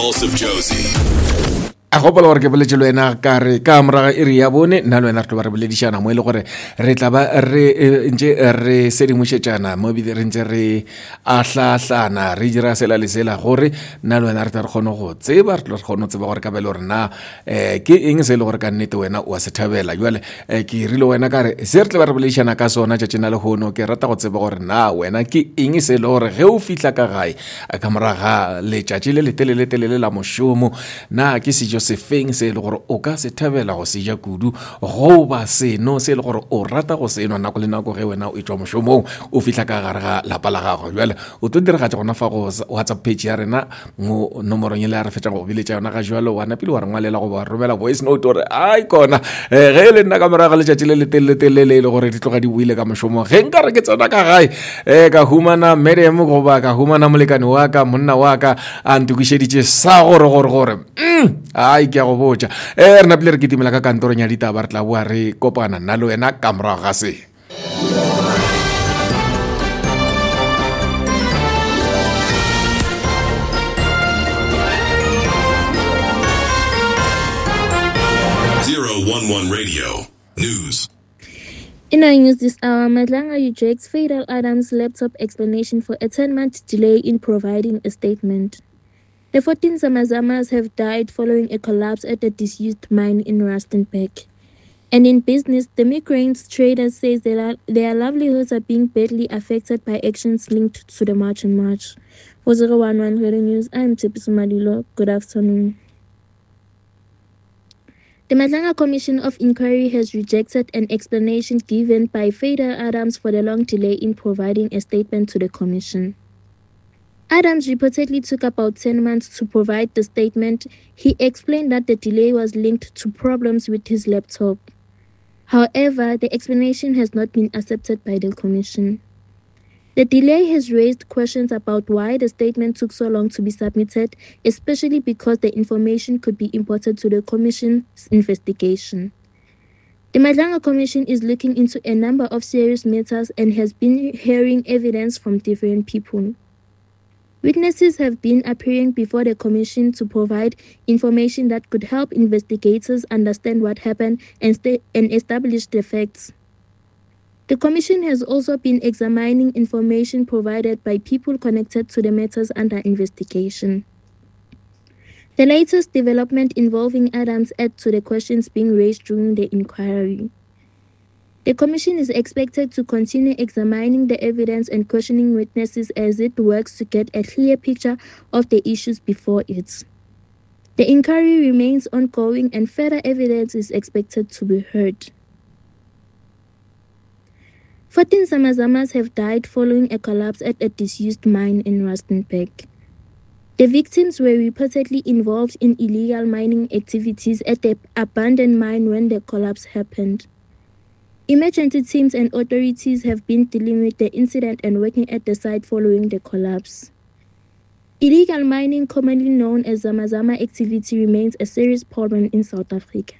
Pulse of Jozi. A gopola gore ke boletše le wena ka re ka moraga iri ya bone nna le wena re tlo ba re boledišana mo e le gore re tla ba re eh, ntše re sedimošetšana mo ebile re ntše re ahlaahlana re dira sela le sela gore nna le wena re tla re kgone go tseba re tlo re kgone go tseba gore ka bele gore na um ke eng se e le gore ka nnete wena o a se thabela jale um ke rile wena ka re se re tla ba re boledišana ka sona tšatšing la lehono ke rata go tseba gore na wena ke eng se e le gore ge o fihla ka gae ka morago ga letšatši le leteleletelele la mošomo na ke sejo sefeng se e le gore o ka se thabela go se ja kudu goba seno se e le gore o rata go se nwa nako le nako ge wena o etšwa mošomong o fihla ka gare ga lapa la gago jale o tlo diragatša gona fa go whatsapp page ya rena mo nomorong e le ya re fetša go biletša yona ga jalo wa napile wa re ngwalela goba wa romela voice note gore ai kona eh, ge e le nna ka morago ga letšatši le leteleletelele e le gore di tloga di boile ka mošomong ge nka re ke tsena ka gae um ka humana madam goba ka humana molekane wa ka monna wa ka a ntokišeditše sa gore gore gore mm, ai ke a go botša um re napile re kitimela ka kantorong ya ditaba re tla boa re kopana nna le wena ka morago ga se 011 Radio News. In our news this hour, Madlanga rejects Fadel Adams' laptop explanation for a 10-month delay in providing a statement. The 14 Zamazamas have died following a collapse at a disused mine in Rustenburg. And in business, the migrants traders says their, their livelihoods are being badly affected by actions linked to the March and March. For 011 Radio News, I'm Tipisu Madilo. Good afternoon. The Madlanga Commission of Inquiry has rejected an explanation given by Fadel Adams for the long delay in providing a statement to the commission. Adams reportedly took about 10 months to provide the statement. He explained that the delay was linked to problems with his laptop. However, the explanation has not been accepted by the commission. The delay has raised questions about why the statement took so long to be submitted, especially because the information could be important to the commission's investigation. The Madlanga Commission is looking into a number of serious matters and has been hearing evidence from different people. Witnesses have been appearing before the commission to provide information that could help investigators understand what happened and, and establish the facts. The commission has also been examining information provided by people connected to the matters under investigation. The latest development involving Adams adds to the questions being raised during the inquiry. The commission is expected to continue examining the evidence and questioning witnesses as it works to get a clear picture of the issues before it. The inquiry remains ongoing and further evidence is expected to be heard. 14 Zamazamas have died following a collapse at a disused mine in Rustenburg. The victims were reportedly involved in illegal mining activities at the abandoned mine when the collapse happened. Emergency teams and authorities have been dealing with the incident and working at the site following the collapse. Illegal mining, commonly known as Zamazama activity, remains a serious problem in South Africa.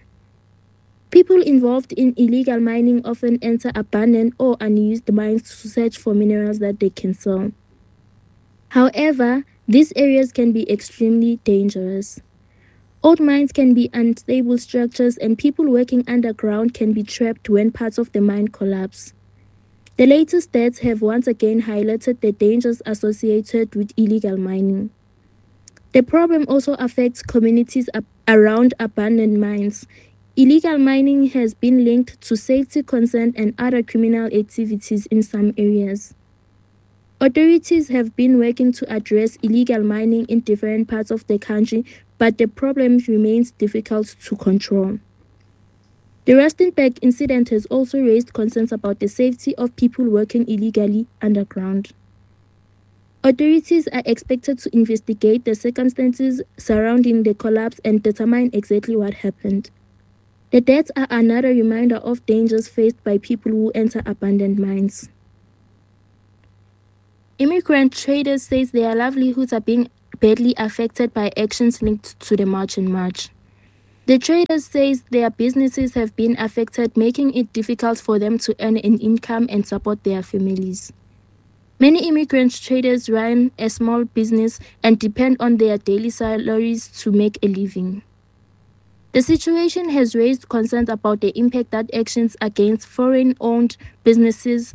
People involved in illegal mining often enter abandoned or unused mines to search for minerals that they can sell. However, these areas can be extremely dangerous. Old mines can be unstable structures, and people working underground can be trapped when parts of the mine collapse. The latest deaths have once again highlighted the dangers associated with illegal mining. The problem also affects communities around abandoned mines. Illegal mining has been linked to safety concerns and other criminal activities in some areas. Authorities have been working to address illegal mining in different parts of the country, but the problem remains difficult to control. The Rustenburg incident has also raised concerns about the safety of people working illegally underground. Authorities are expected to investigate the circumstances surrounding the collapse and determine exactly what happened. The deaths are another reminder of dangers faced by people who enter abandoned mines. Immigrant traders say their livelihoods are being badly affected by actions linked to the March and March. The traders say their businesses have been affected, making it difficult for them to earn an income and support their families. Many immigrant traders run a small business and depend on their daily salaries to make a living. The situation has raised concerns about the impact that actions against foreign owned businesses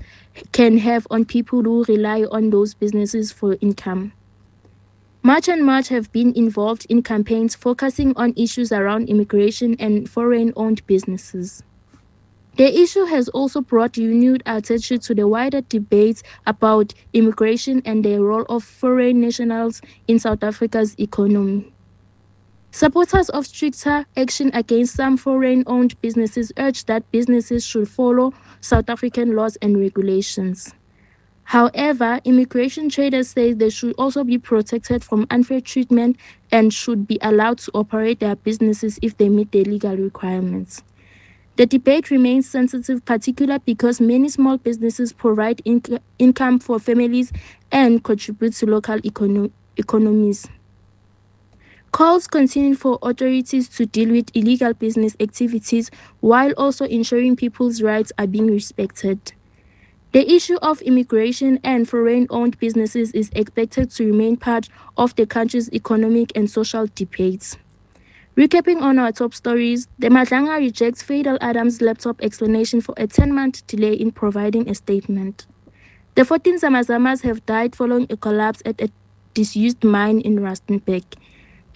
can have on people who rely on those businesses for income. March and March have been involved in campaigns focusing on issues around immigration and foreign owned businesses. The issue has also brought renewed attention to the wider debate about immigration and the role of foreign nationals in South Africa's economy. Supporters of stricter action against some foreign owned businesses urge that businesses should follow South African laws and regulations. However, immigration traders say they should also be protected from unfair treatment and should be allowed to operate their businesses if they meet the legal requirements. The debate remains sensitive, particularly because many small businesses provide inc- income for families and contribute to local econo- economies. Calls continue for authorities to deal with illegal business activities while also ensuring people's rights are being respected. The issue of immigration and foreign owned businesses is expected to remain part of the country's economic and social debates. Recapping on our top stories, the Madlanga rejects Fadiel Adams' laptop explanation for a 10 month delay in providing a statement. The 14 Zamazamas have died following a collapse at a disused mine in Rustenburg.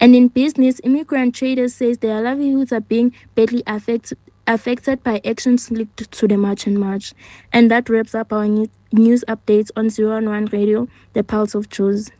And in business, immigrant traders say their livelihoods are being badly affect, affected by actions linked to the March and March. And that wraps up our news updates on 0 1 Radio, the Pulse of Jozi.